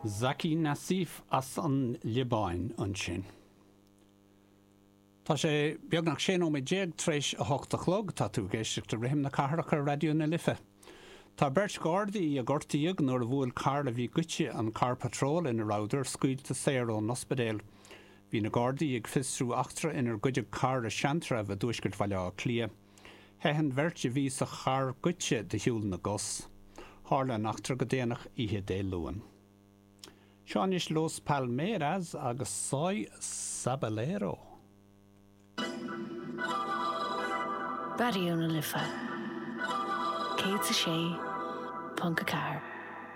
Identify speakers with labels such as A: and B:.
A: Zaki Nassif as an Liobáin ansin. Tá sé beagnach 16 nóiméad tar éis a hocht a chlog. Tá tú ag éisteacht le Rithim na Cathrach ar Raidió na Life. Tá beirt Ghardaí a gortaíodh nuair a bhuail carr a bhí goidte an carr patróil ina rabhadar, scaoilte saor ón ospidéal. Bhí na Gardaí ag fiosrú eachtra inar goideadh carr i Seantrabh i dtuaisceart Bhaile Átha Cliath. Theith an bheirt a bhí sa charr goidte de shiúl na gcos. Tharla an eachtra go déanach oíche Dé Luain. Seo anois Los Palmeras agus Soy Sabalero.
B: Raidió na Life 106.4.